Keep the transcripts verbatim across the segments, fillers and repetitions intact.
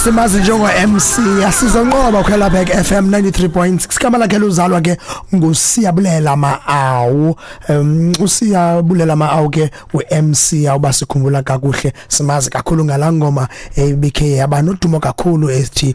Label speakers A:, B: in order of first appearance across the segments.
A: Simazi njengo M C asizonqoba Khwela F M ninety-three point six. Igama lakhe luzalwa ke nguSiyabulela Maawu. um uSiyabulela Maawu ke u M C, awuba sikhumbula kakuhle, simazi kakhulu ngalaa ngoma ebikhe yaba nodumo kakhulu ethi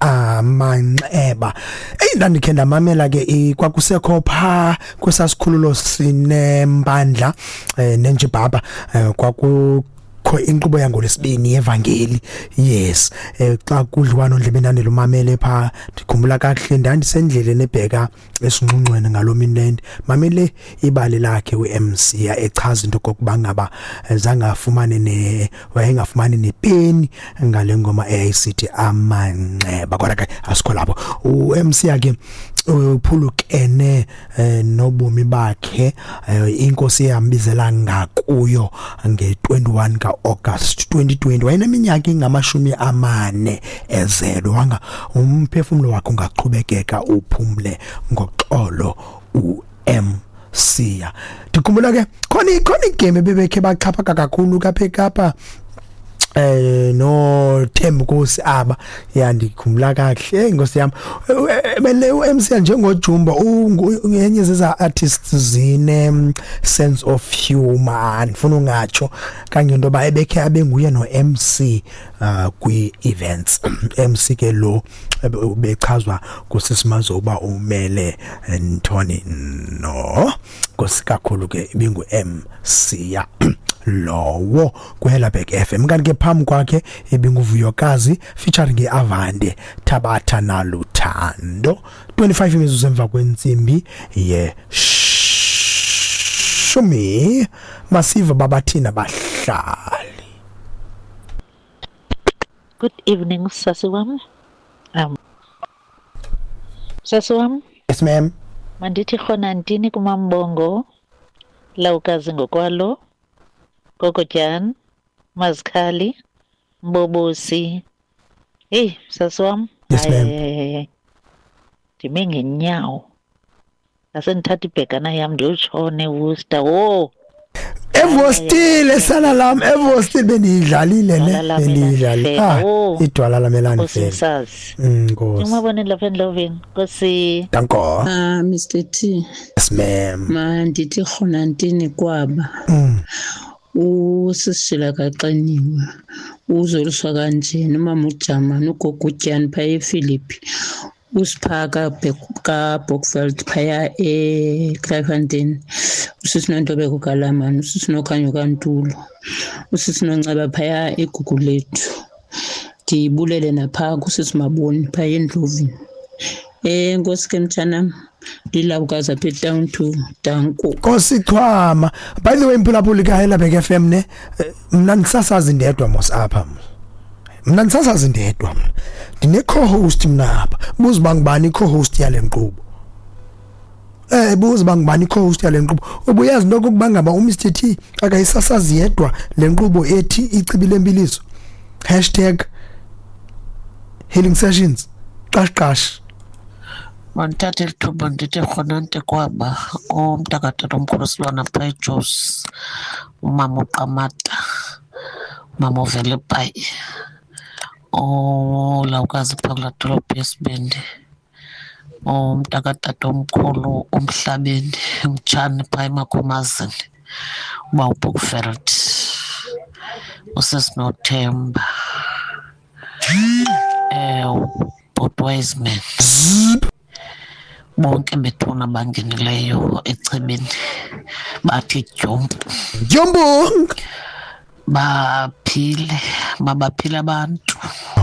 A: Amanxeba. Eyi, ndandikhe ndamamela ke, kwakusekho phaa kwesasikhululo sinempandla eh, nenjibhaba, eh, kwaku kho inkqubo yangolwesibini yevangeli. Yes, eh, xa kudliwano ndlebe ndandilumamele phaa. Ndikhumbula kakuhle, ndandisendleleni ebheka esingxungxweni ngaloo mini, mamele ibali lakhe u-M C echaza into okokuba ngaba zange afumane ne wayengafumani nepeni ngale ngoma eyayisithi Amanxeba. Kodwa ke asikho lapho. U M C ke uphulukene eh, nobomi bakhe, eh, inkosi yambizela ngakuyo nge-twenty-one ka-August twenty twenty. Wayeneminyaka engamashumi amane ezelwe. Wanga umphefumlo wakhe ungaqhubekeka uphumle ngoxolo u M C. Ndikhumbula ke khona khona igame ebebekhe baxhaphaka kakhulu kapha eKapa, eh no Thembukosi aba. Ya, ndikhumbula kakuhle, inkosi yami, bele u M C njengoJumba ungenye zeza artists zine sense of humor. Ndifuna ungatsho kangento ba ebekhe abenguye no M C uh, kwi events. M C ke lo bechazwa kusisimazo uba umele Ntoni no Nkosi kakhulu ke, ibingu M C ya lowo kwiHelabek F M. Kanti ke phambi kwakhe ibinguVuyokazi featuring iAvande, Thabatha Naluthando. twenty-five imizuzu emva kwentsimbi ye shumi. Masiva babathina bahlali.
B: Good evening, sasi wam. Um, sasi wam.
A: Yes, ma'am.
B: Mandithi khona ntini kumambongo lawukazi ngokwalo Gogojan Mazikhali Mbobosi. Hey, sasi wam.
A: Yes, ma'am.
B: Hayi, ndime ngenyawo. Ngase ndithatha ibhegana yam ndiyotshona eWorcester. Wo!
A: Evostile sana lam, evostile bendiyidlalile
B: Idwala
A: ne
B: lam
A: bendiyidlalile.
B: elandifela.
A: Ah.
B: Oh.
A: Idwala lam elandifela.
B: Nkosi.
A: mm nkosi
B: Umabone lapha endlovini. Nkosi.
A: Danko.
C: Ah, Mister T.
A: Yes, ma'am.
C: Mandithi khona ntini kwaba.
A: mm.
C: Usisishila kaxiniwe. Uzoliswa kanjena umama uJamani, ugogo uTyani phaya ePhilippi. Usiphaka kaBokveld phaya eKraaifontein. Usisi Nontobeko kaLamani, usisi Nokhanyo kaNtulo. Usisi Nonceba phaya eGugulethu. Ndibulele napha kusisi Maboni phaya eNdlovini. Eh Nkosi ke mtshanam. Lilawukazi apha eTown two. Danko.
A: Nkosi Chwama. By the way, mphulaphuli kaHelabek F M ne, eh, mna ndisasazi ndedwa mos apha. Mna ndisasazi ndedwa mna. Ndine co-host mna apha. Buza uba ngubani i-co-host yale nkqubo. Eh buza uba ngubani i-co-host yale nkqubo. Ubuyazi into okokuba ngaba uMr T akayisasazi yedwa le nkqubo ethi Ichibi Lempiliso hashtag healing sessions qash qash.
D: Mandithathe eli thuba ndithi rhonante kwaba umntakatatomkhulu Silwana phaa eJozi, umama uQamata, umama ovela eBhayi, olawukazi phaa kulaa dolophu yesibindi, umntakatatomkhulu umhlabeni mtshane phaa eMakhomazini, uba uBookveld, usisinothemba, um ubhuti Wiseman, bonke bethuna bangenileyo echibini bathi dyumpu.
A: Jumbo.
D: Baphile, mabaphile abantu.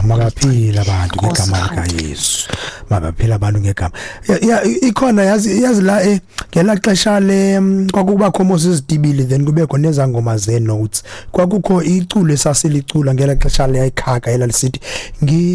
A: Mabaphile abantu ngegama likaYesu, mabaphile abantu ngegama. Ya- ya ikhona, yazi yazi la, eh ngela xesha le mm, kwakubakho mos izitibili, then kubekho nezangoma ze notes. Kwakukho iculo esasilicula ngela xesha le ayikhaka elalisithi ngi